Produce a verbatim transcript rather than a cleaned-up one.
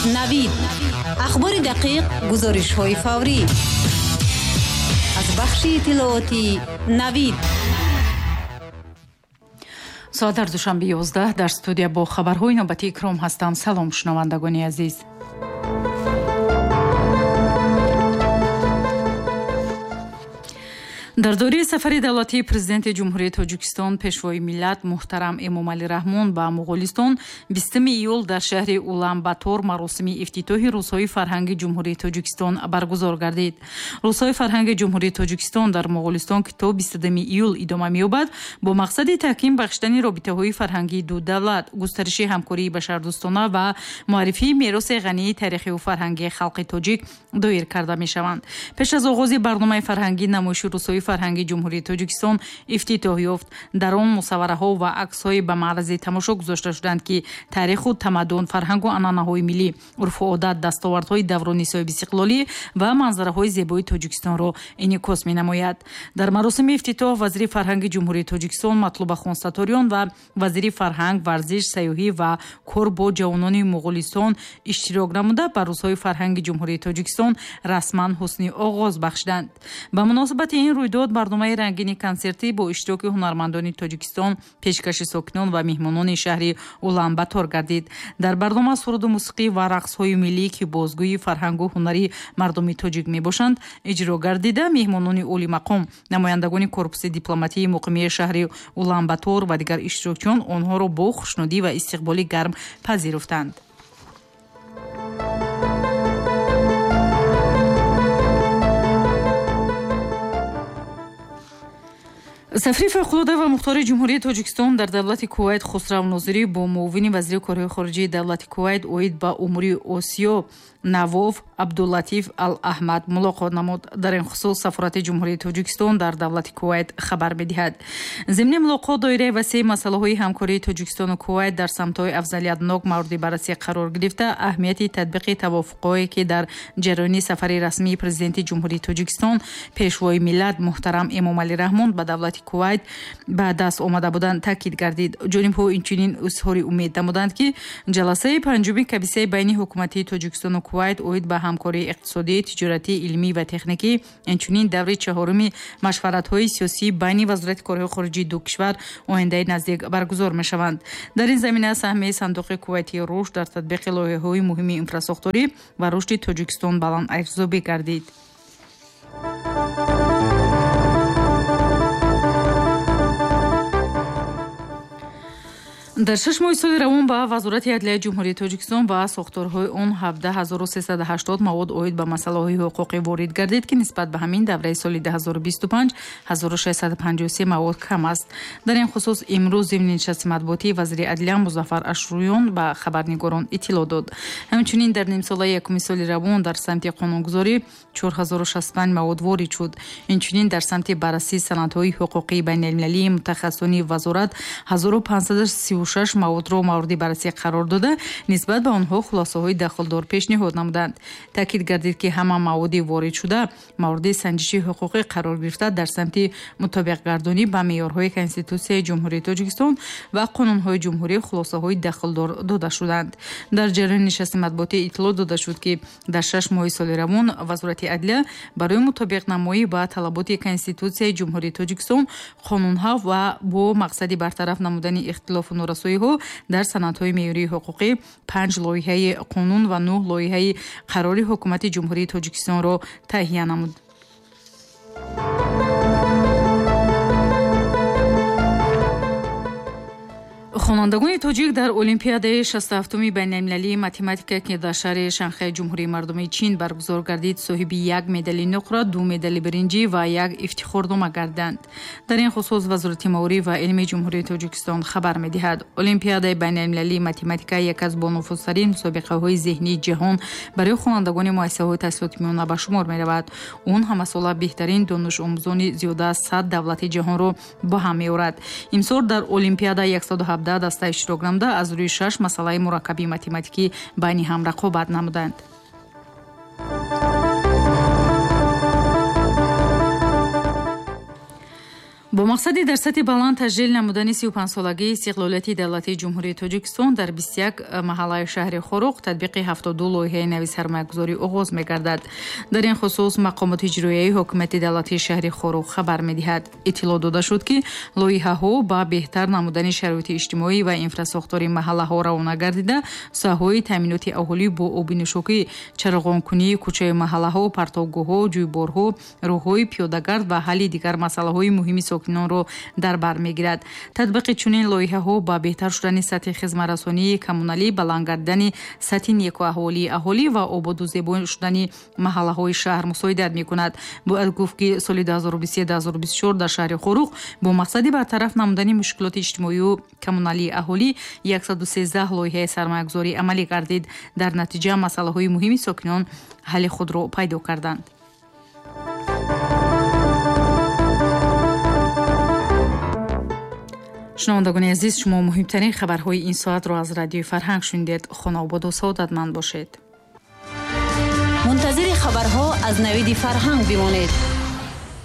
Навид. Ахбори дақиқ, гузоришҳои фаврӣ. Аз бахши иттилоотии Навид. Соат дар Душанбе ёздаҳ, дар студия бо хабарҳои навбатии Икром ҳастам. Салом, шунавандагони азиз. Дар доираи сафари давлатии президенти Ҷумҳурии Тоҷикистон, пешвои миллат муҳтарам Эмомалӣ Раҳмон ба Муғулистон бистуми июл дар шаҳри Улан-Батор маросими ифтитоҳи Рӯзҳои фарҳанги Ҷумҳурии Тоҷикистон баргузор гардид. Рӯзҳои фарҳанги Ҷумҳурии Тоҷикистон дар Муғулистон, ки то бистудуми июл идома меёбад, бо мақсади таҳким бахшидани робитаҳои фарҳангии ду давлат, густариши ҳамкории башардӯстона ва муаррифии мероси ғании таърихию фарҳангии халқи тоҷик доир карда мешаванд. Пеш аз оғози барномаи фарҳангӣ намоиши Рӯзҳои фарҳанги Ҷумҳурии Тоҷикистон ифтитоҳ ёфт. Дар он мусаввараҳо ва аксҳои ба маързи тамошо гузошта шуданд, ки таъриху тамаддун, фарҳангу анъанаҳои миллӣ, урфу одат, дастовардҳои даврони соҳибистиқлолӣ ва манзараҳои зебои Тоҷикистонро инъикос менамояд. Дар маросими ифтитоҳ вазири фарҳанги Ҷумҳурии Тоҷикистон Матлуба Хонсаториён ва вазири фарҳанг, варзиш, сайёҳӣ ва кор бо ҷавонони Муғулистон иштирок намуда ба Рӯзҳои фарҳанги Ҷумҳурии Тоҷикистон расман ҳусни оғоз бахшиданд. Ба муносибати ин рӯйдод барномаи рангини консертӣ бо иштироки ҳунармандони Тоҷикистон пешкаши сокинон ва меҳмонони шаҳри Улан-Батор гардид. Дар барнома суруду мусиқӣ ва рақсҳои миллӣ, ки бозгӯи фарҳангу ҳунари мардуми тоҷик мебошанд, иҷро гардида, меҳмонони олимақом, намояндагони корпуси дипломатии муқимии шаҳри Улан-Батор ва дигар иштирокчиён онҳоро бо хушнудӣ ва истиқболи гарм пазируфтанд. Сафири фавқулода ва мухтори Ҷумҳурии Тоҷикистон дар давлати Кувайт Хусрав Нозирӣ бо муовини вазири корҳои хориҷии давлати Кувайт оид ба умури Осиё Навоф Абдуллатиф Ал-Аҳмад мулоқот намуд. Дар ин хусус сафорати Ҷумҳурии Тоҷикистон дар давлати Кувайт хабар медиҳад. Зимни мулоқот доираи васеи масъалаҳои ҳамкории Тоҷикистону Кувайт дар самтҳои афзалиятнок мавриди баррасӣ қарор гирифта, аҳамияти татбиқи тавофуқҳое, ки дар ҷараёни сафари расмии президенти Ҷумҳурии Тоҷикистон, пешвои миллат муҳтарам Эмомалӣ Раҳмон ба давлати Кувайт ба даст омада буданд, таъкид гардид. Ҷонибҳо инчунин изҳори умед намуданд, ки ҷаласаи панҷуми комиссияи байни ҳукуматии Тоҷикистону Кувайт оид ба ҳамкории иқтисодӣ, тиҷоратӣ, илмӣ ва техникӣ, инчунин даври чаҳоруми машваратҳои сиёсӣ байни вазорати корҳои хориҷии ду кишвар ояндаи наздик баргузор мешаванд. Дар ин замина саҳми сандуқи Кувайтии рушд дар татбиқи лоиҳаҳои муҳими инфрасохторӣ ва рушди Тоҷикистон баланд арзёбӣ гардид. Дар шаш моҳи соли равон ба Вазорати адлияи Ҷумҳурии Тоҷикистон ва сохторҳои он ҳабдаҳ ҳазору сесаду ҳаштод мавод оид ба масъалаҳои ҳуқуқӣ ворид гардид, ки нисбат ба ҳамин давраи соли ду ҳазору бисту панҷ ҳазору шашсаду панҷоҳу се мавод кам аст. Дар ин хусус имрӯз зимни нишасти матбуотӣ вазири адлия Музаффар Ашрӯён ба хабарнигорон иттилоъ дод. Ҳамчунин дар нимсолаи якуми соли равон дар самти қонунгузорӣ чор ҳазору шасту панҷ мавод ворид шуд. Инчунин дар самти баррасии санадҳои ҳуқуқии байналмилалии мутахассисони вазорат ҳазору панҷсаду сию шаш маводро мавриди баррасӣ қарор дода, нисбат ба онҳо хулосаҳои дахлдор пешниҳод намуданд. Таъкид гардид, ки ҳама маводи воридшуда мавриди санҷиши ҳуқуқӣ қарор гирифта, дар самти мутобиқгардонӣ ба меъёрҳои Конститутсияи Ҷумҳурии Тоҷикистон ва қонунҳои ҷумҳурӣ хулосаҳои дахлдор дода шуданд. Дар ҷараёни нишасти матбуотӣ иттилоъ дода шуд, ки дар шаш моҳи соли равон Вазорати адлия барои мутобиқнамоӣ ба талаботи Конститутсияи Ҷумҳурии Тоҷикистон, қонунҳо ва бо мақсади бартараф намудани ихтилофу норасоиҳо дар санадҳои меъёрии ҳуқуқӣ панҷ лоиҳаи қонун ва нӯҳ лоиҳаи қарори Ҳукумати Ҷумҳурии Тоҷикистонро таҳия намуд. Хонандагони тоҷик дар Олимпиадаи шасту ҳафтуми байналмилалии математика, ки дар шаҳри Шанхай Ҷумҳурии Мардумии Чин баргузор гардид, соҳиби як медали нуқра, ду медали биринҷӣ ва як ифтихорнома гардиданд. Дар ин хусус Вазорати маориф ва илми Ҷумҳурии Тоҷикистон хабар медиҳад. Олимпиадаи байналмилалии математика як аз бонуфузтарин мусобиқаҳои зеҳнии ҷаҳон барои хонандагони муассисаҳои таҳсилоти миёна ба шумор меравад. Он ҳамасола беҳтарин донишомӯзони зиёда аз сад давлати ҷаҳонро ба ҳам меорад. Имсол дар Олимпиада яксаду ҳабдаҳ даста иштирок намуда, аз рӯи шаш масъалаи мураккаби математикӣ байни ҳам рақобат намуданд. Бо мақсади дар сатҳи баланд таҷлил намудани сию панҷсолагии истиқлолияти давлатии Ҷумҳурии Тоҷикистон дар бисту як маҳаллаи шаҳри Хоруғ татбиқи ҳафтоду ду лоиҳаи нави сармоягузорӣ оғоз мегардад. Дар ин хусус мақомоти иҷроияи ҳокимияти давлатии шаҳри Хоруғ хабар медиҳад. Иттилоъ дода шуд, ки лоиҳаҳо ба беҳтар намудани шароити иҷтимоӣ ва инфрасохтори маҳаллаҳо равона гардида, соҳаҳои таъминоти аҳолӣ бо оби нӯшокӣ, чароғонкунии кӯчаи маҳаллаҳо, партовгоҳҳо, ҷӯйборҳо, роҳҳои пиёдагард ва ҳалли дигар масъалаҳои муҳими сокинонро дар бар мегирад. Татбиқи чунин лоиҳаҳо ба беҳтар шудани сатҳи хизматрасонии коммуналӣ, баланд гардидани сатҳи некуаҳволии аҳолӣ ва ободу зебо шудани маҳаллаҳои шаҳр мусоидат мекунад. Бояд гуфт, ки соли ду ҳазору бисту се ду ҳазору бисту чор дар шаҳри Хоруғ бо мақсади бартараф намудани мушкилоти иҷтимоию коммуналии аҳолӣ яксаду сездаҳ лоиҳаи сармоягузорӣ амалӣ гардид. Дар натиҷа масъалаҳои муҳими сокинон ҳалли худро пайдо карданд. Шунавандагони азиз, шумо муҳимтарин хабарҳои ин соатро аз радиои Фарҳанг шунидед. Хонаободу саодатманд бошед. Мунтазири хабарҳо аз Навиди Фарҳанг бимонед.